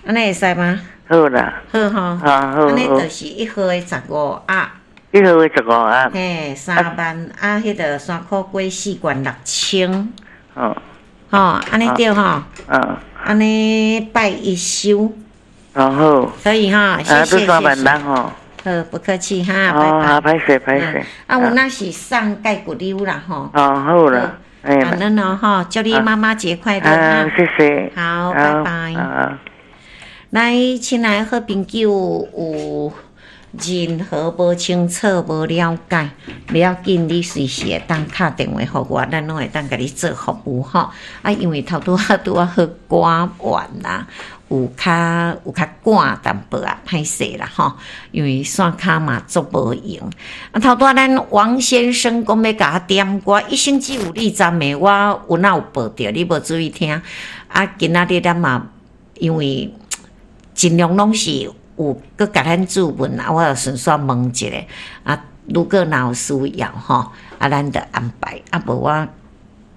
按呢會使嗎？好啦。好吼。啊，好。按呢就是一號的15盒。一號的15盒。嘿，3萬啊，彼个山苦瓜4罐6000。哦。吼，按呢對吼。嗯。按呢拜一收。哦好。可以哈，謝謝。 3萬六吼。好，不客氣哈，拜拜。好，歹勢歹勢。啊，有那是送蓋骨溜啦吼。哦，好啦。感恩哦吼，祝你媽媽節快樂哈。謝謝。好，拜拜。來，親愛好朋友，有任何無清楚、無了解，袂要緊，你隨時會當敲電話予我，咱攏會當共你做服務吼。啊，因為頭拄仔拄仔好趕完啦，有較趕淡薄仔，歹勢啦吼。因為線跤嘛足無閒。啊，頭拄仔咱王先生講欲共我點歌，一生只有你站的，我有哪有報著，你無注意聽。啊，今仔日咱嘛，因為盡量攏是有閣共咱諮問啊，我就順紲問一下。啊，如果若有需要吼，啊，咱就安排。啊，無我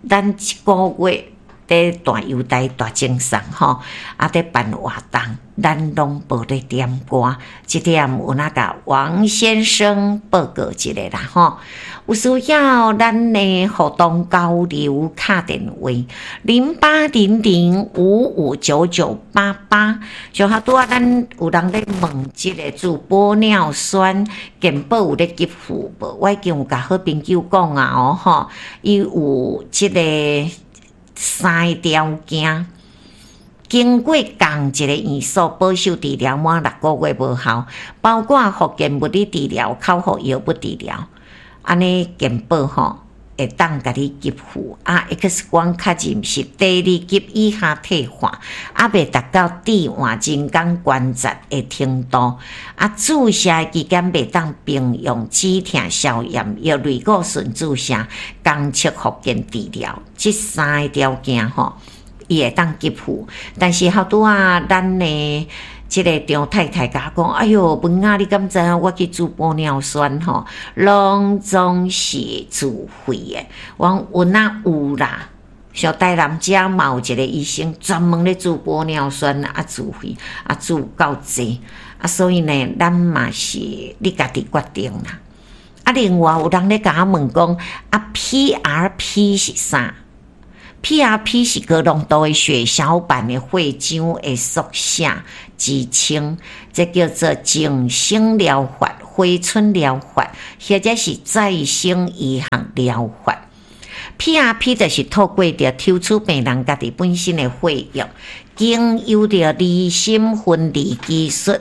咱一個月佇大遊台大精神吼，啊，佇辦活動，咱攏無咧點歌。這點有哪共王先生報告一下啦吼。有需要咱的互動交流，敲電話0800559988。上下拄仔咱有人咧問這个注玻尿酸健保有咧給付無？我已經有共好朋友講啊哦吼，伊有這个三个條件。經過仝一个院所保守治療滿6個月無效，包括復健物理治療、口服藥物治療，按呢健保吼會當共你給付。啊，X 光確認是第二級以下退化，猶未達到置換人工關節的程度。啊，注射的期間袂當併用止痛消炎藥、類固醇注射、監測復健治療，這三個條件吼，伊會當給付。但是頭拄仔咱的這个張太太共我講，哎喲，文仔你敢知影我去注玻尿酸吼，攏總是自費的。我講有哪有啦，像台南遮嘛有一个醫生專門咧注玻尿酸啊，自費啊注夠濟啊，所以呢，咱嘛是你家己決定啦。啊，另外有人咧共我問講，啊，PRP 是啥？PRP 是高濃度的血小板的血漿的縮寫之稱，這叫做再生療法、回春療法，或者是再生醫學療法。PRP 就是透過著抽取病人家己本身的血液，經由著離心分離技術，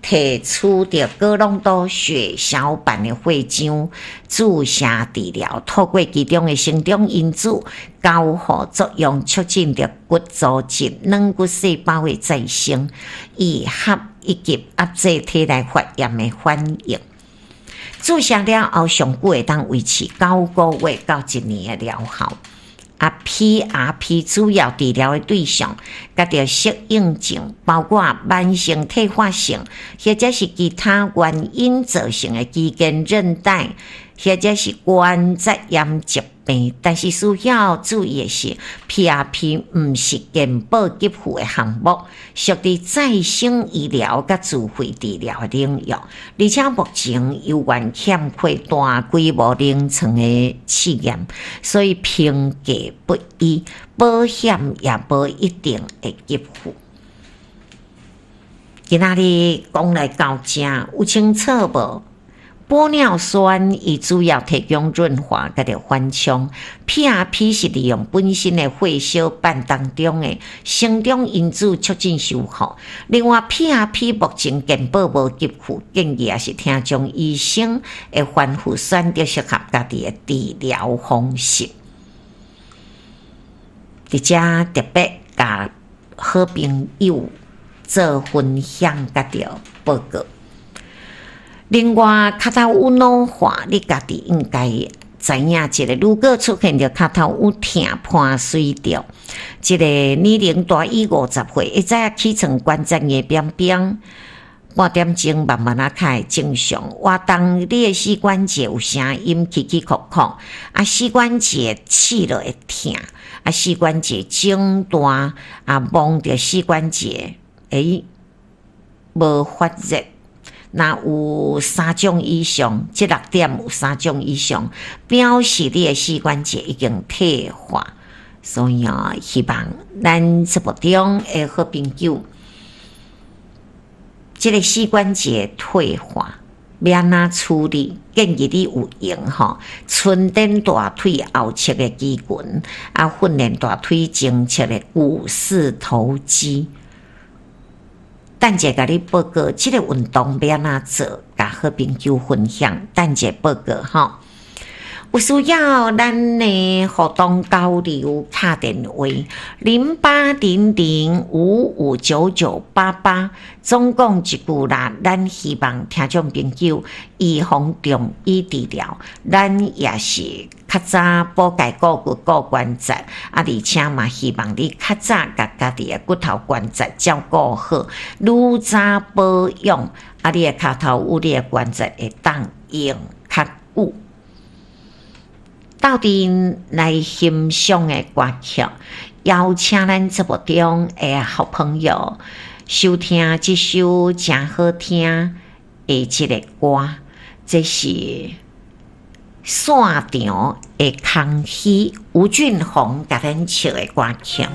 提取著高濃度血小板的血漿，注射治療，透過其中的生長因子交互作用，促進著骨組織、軟骨細胞的再生、癒合以及壓制體內發炎的反應。注射了後，上久會當維持9個月到一年的療效。啊，PRP 主要治療的對象，佮著適應症，包括慢性退化性，或者是其他原因造成的肌腱韌帶，或者是關節炎疾病。但是需要注意的是，PRP 毋是健保給付的項目，屬佇再生醫療佮自費治療的領域，而且目前猶原欠缺大規模臨床的試驗，所以評價不一，保險也無一定會給付。今仔日講來到遮，有清楚無？玻尿酸伊主要提供潤滑佮著緩衝，PRP 是利用本身的血小板當中的生長因子促進修復。另外，PRP 目前健保無給付，建議也是聽從醫生的吩咐，選擇適合家己的治療方式。佇遮特別共好朋友做分享，佮著報告。另外，跤頭趺老化，你家己應該知影一个。如果出現著跤頭趺疼伴隨著這个年齡大於50歲，會知影起床關節硬繃繃，半點鐘慢慢仔較會正常。活動你的膝關節有聲音，起起叩叩，啊，膝關節刺落會疼，啊，膝關節腫大，啊，摸著膝關節。無發熱，若有三種以上，這六點有三種以上，表示你的膝關節已經退化。所以啊，希望咱節目中的好朋友，這个膝關節退化欲按怎處理？建議你有閒吼，春展大腿後側的肌群，啊，訓練大腿前側的股四頭肌。等者共你報告，這个運動欲按怎做，共好朋友分享。等者報告吼。有需要咱的互動交流，敲電話0800559988。總共一句啦，咱希望聽眾朋友預防重於治療，咱也是較早補鈣顧骨顧關節，啊，而且嘛希望你較早共家己的骨頭關節照顧好，愈早保養，啊，你的跤頭趺你的關節會當用較久。鬥陣來欣賞的歌曲，邀請咱節目中的好朋友收聽這首誠好聽的這个歌，這是散場的空虛，吳俊宏共咱唱的歌曲。